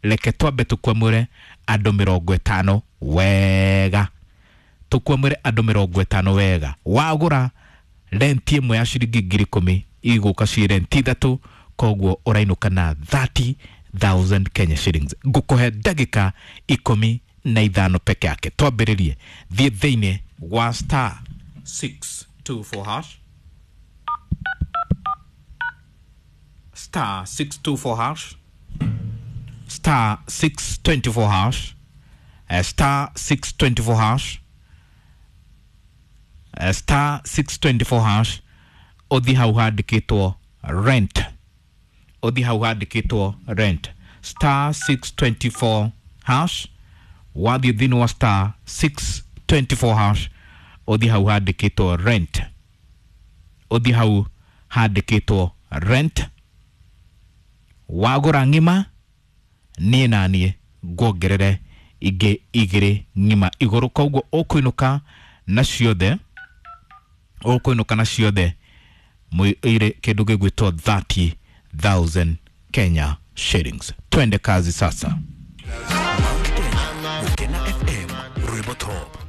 Reke twambe tukwamũre andũ 50 wega, tukwamũre andũ 50 wega. Wagũra renti ĩmwe ya ciringi 10,000, igũka ci renti ithatũ, koguo ũrainũka na 30,000 Kenya shillings. Ngũkũhe ndagĩka 15 peke yake. Twambĩrĩrie, thiĩ thĩinĩ wa star 624 hash, star 624 hash, star 624 hash, star 624 hash, star 624 hash. Ũthiĩ hau handĩkĩtwo rent, ũthiĩ hau handĩkĩtwo rent, star 624 hash. Wathiĩ thĩinĩ wa star 624 hash, ũthiĩ hau handĩkĩtwo rent, ũthiĩ hau handĩkĩtwo rent. Wagũra ng'ima, niĩ na niĩ nguongerere ingĩ igĩrĩ ng'ima igũrũ, koguo ũkũinũka na ciothe, ũkũinũka na ciothe ire kĩndũ gĩgwĩtwo 30,000 Kenya shillings. Twende kazi sasa. Gukena FM, rwimbo top.